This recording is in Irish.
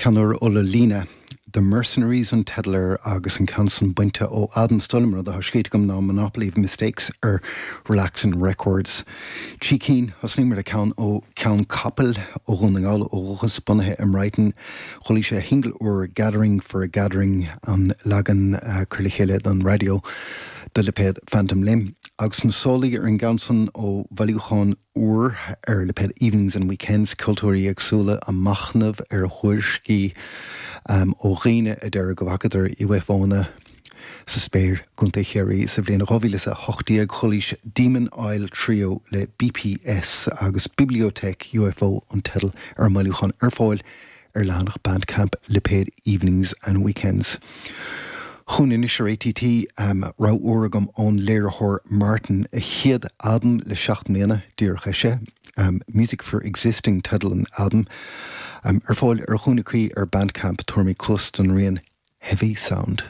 Ceann úr ó La Lina, The Mercenaries an teideal air agus an ceann san bainte ó albam is dóigh liom, rud atá scríte agam ná Monopoly of Mistakes ar Relaxin Records. 3 cinn, thosnaíomar le ceann ó Ceann Capaill ó Dhún na nGall ó dhúchas, bunaithe i mBrighton. Chualaís a shingil úr Gathering for a Gathering, an leagan cur le chéile don raidió do lipéad Phantom Limb. Agus na sólaí ar an gceann san ó bhailiúchán úr ar lipéad Evenings and Weekends, ceoltóirí éagsúla ag machnamh ar thuairiscí ó dhaoine a deir go bhfacadar UFOnna sa spéir i gContae Chiarraí sa bhliain 2018. Chualaís Demon Isle Trio le BPS agus Bibliothèque UFO an teideal ar an mbailiúchán ar fáil ar leathanach Bandcamp lipéad Evenings and Weekends. Chugainn anois ar ATT, rogha úr agam ón léiritheoir Martyn, a chéad albam le 7 mbliana, díreach eisithe. Music for Existing teideal an albaim. Ar fáil ar chúinne cuí ar Bandcamp, tabharfaimid cluas don rian Heavy Sound.